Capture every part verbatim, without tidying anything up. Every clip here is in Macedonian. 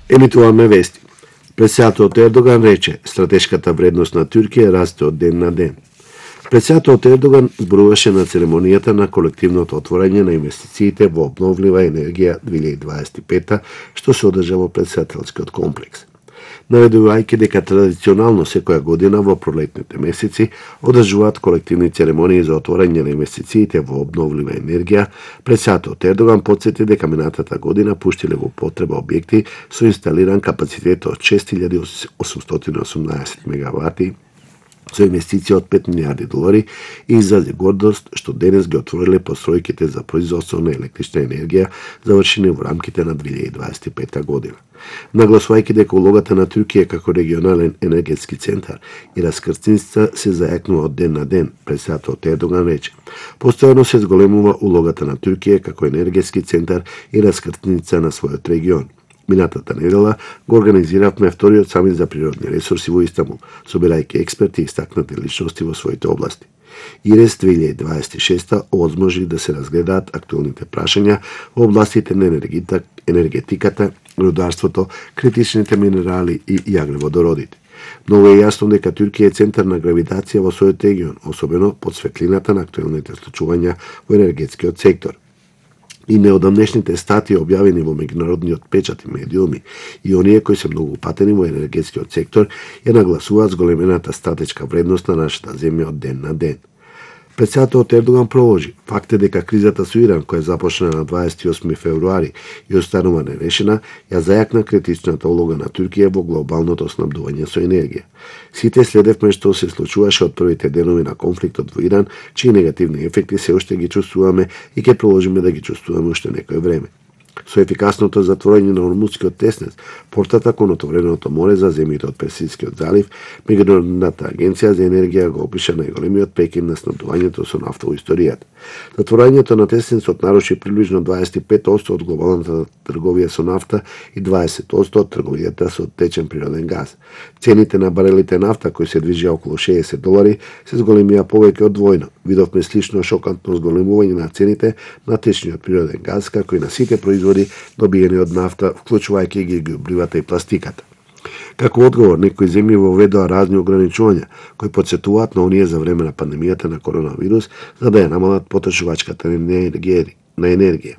Емитуваме вести. Председателот Ердоган рече, стратешката вредност на Туркија расте од ден на ден. Председателот Ердоган зборуваше на церемонијата на колективното отворање на инвестициите во обновлива енергија две илјади дваесет и пета, што се одржа во председателскиот комплекс. Наведувајќи дека традиционално секоја година во пролетните месеци одржуваат колективни церемонии за отворање на инвестициите во обновлива енергија, председателот Ердоган потсети дека минатата година пуштиле во потреба објекти со инсталиран капацитет од шест илјади осумстотини и осумнаесет мегавати со инвестиција од пет милијарди долари и изрази гордост што денес ги отвориле постројките за производство на електрична енергија завршени во рамките на две илјади дваесет и пета година. Нагласувајќи дека улогата на Туркија како регионален енергетски центар и раскрстница се зајакнува од ден на ден, председателот Ердоган рече: постојано се зголемува улогата на Туркија како енергетски центар и раскрстница на својот регион. Минатата недела го организиравме вториот самит за природни ресурси во Истанбул, собирајќи експерти и истакнати личности во своите области. ИРЕС две илјади дваесет и шеста овозможи да се разгледаат актуелните прашања во областите на енергетиката, рударството, критичните минерали и јаглеводородите. Многу е јасно дека Туркија е центар на гравитација во својот регион, особено под светлината на актуелните случувања во енергетскиот сектор. И неодамнешните статии објавени во меѓународниот печат и медиуми и оние кои се многу упатени во енергетскиот сектор ја нагласуваат зголемената стратешка вредност на нашата земја од ден на ден. Председателот Ердоган проложи: факт е дека кризата со Иран, која започна на дваесет и осми февруари и останува нерешена, ја зајакна критичната улога на Туркија во глобалното снабдување со енергија. Сите следевме што се случуваше од првите денови на конфликтот во Иран, чии негативни ефекти се уште ги чувствуваме и ќе продолжиме да ги чувствуваме уште некој време. Со ефикасното затворање на Ормудскиот теснец, портата кон отвореното море за земјите од Персискиот залив, Меѓународната агенција за енергија го опиша најголемиот прекин на снабдувањето со нафта во историјата. Затворањето на теснецот наруши приближно дваесет и пет одсто од глобалната трговија со нафта и дваесет одсто од трговијата со течен природен газ. Цените на барелите нафта, кои се движеа околу шеесет долари, се зголемија повеќе од двојно. Видовме слично шокантно зголемување на цените на течниот природен газ, како и на сите производи добиени од нафта, вклучувајќи ги ѓубривата и пластиката. Како одговор, некои земји воведоа разни ограничувања, кои потсетуваат на оние за време на пандемијата на коронавирус, за да ја намалат потрошувачката на енергија.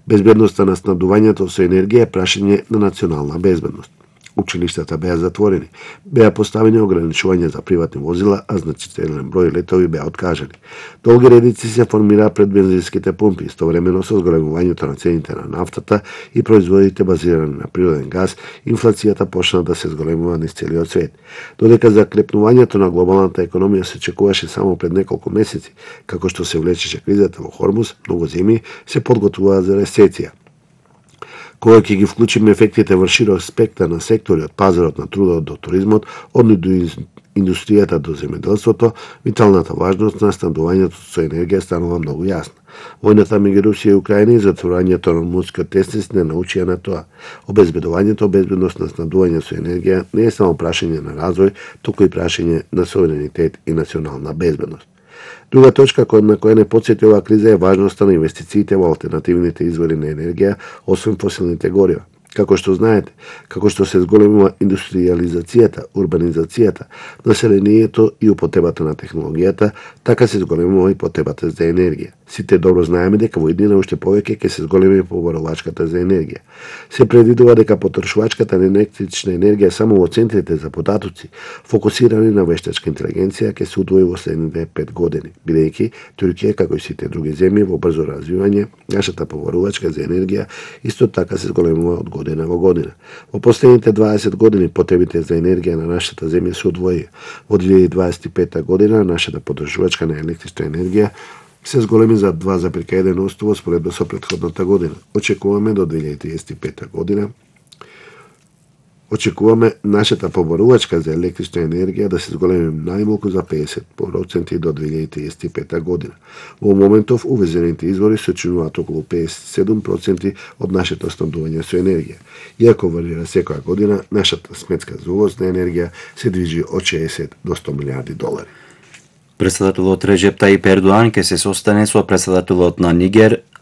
Безбедноста на снабдувањето со енергија е прашање на национална безбедност. Училиштата беа затворени, беа поставени ограничувања за приватни возила, а значителен број летови беа откажани. Долги редици се формираа пред бензинските пумпи, истовремено со зголемувањето на цените на нафтата и производите базирани на природен газ, инфлацијата почна да се зголемува низ целиот свет. Додека закрепнувањето на глобалната економија се очекуваше само пред неколку месеци, како што се влечеше кризата во Хормуз, многу земји се подготвуваат за рецесија. Кога ќе ги вклучиме ефектите во широк спектар на сектори од пазарот на трудот до туризмот, од индустријата до земјоделството, виталната важност на снабдувањето со енергија станува многу јасна. Војната меѓу Русија и Украина и затворањето на Ормудскиот теснец не научија на тоа. Обезбедувањето, безбедност на снабдување со енергија не е само прашање на развој, туку и прашање на суверенитет и национална безбедност. Друга точка на која не потсети оваа криза е важноста на инвестициите во алтернативните извори на енергија, освен фосилните горива. Како што знаете, како што се зголемува индустриализацијата, урбанизацијата, населението и употребата на технологијата, така се зголемува и потребата за енергија. Сите добро знаеме дека во иднина уште повеќе ќе се зголеми побарувачката за енергија. Се предвидува дека потрошувачката на електрична енергија само во центрите за податоци, фокусирани на вештачка интелигенција, ќе се удвои во следните пет години, бидејќи Туркија, како и сите други земји во брзо развивање, нашата побарувачка за енергија исто така се зголемува од година во година. Во последните дваесет години потребите за енергија на нашата земја се удвоија. Во две илјади дваесет и пета година нашата потрошувачка на електрична енергија се зголеми за два зарез еден одсто во споредба со претходната година. Очекуваме до две илјади триесет и пета година Очекуваме нашата побарувачка за електрична енергија да се зголеми најмалку за педесет проценти до две илјади триесет и пета година. Во моментов увезените извори се чинуваат околу педесет и седум проценти од нашето снабдување со енергија. Иако варира секоја година, нашата сметка за увоз на енергија се движи од шеесет до сто милијарди долари. Председателот Реджеп Тајип Ердоан ќе се состане со председателот на Нигер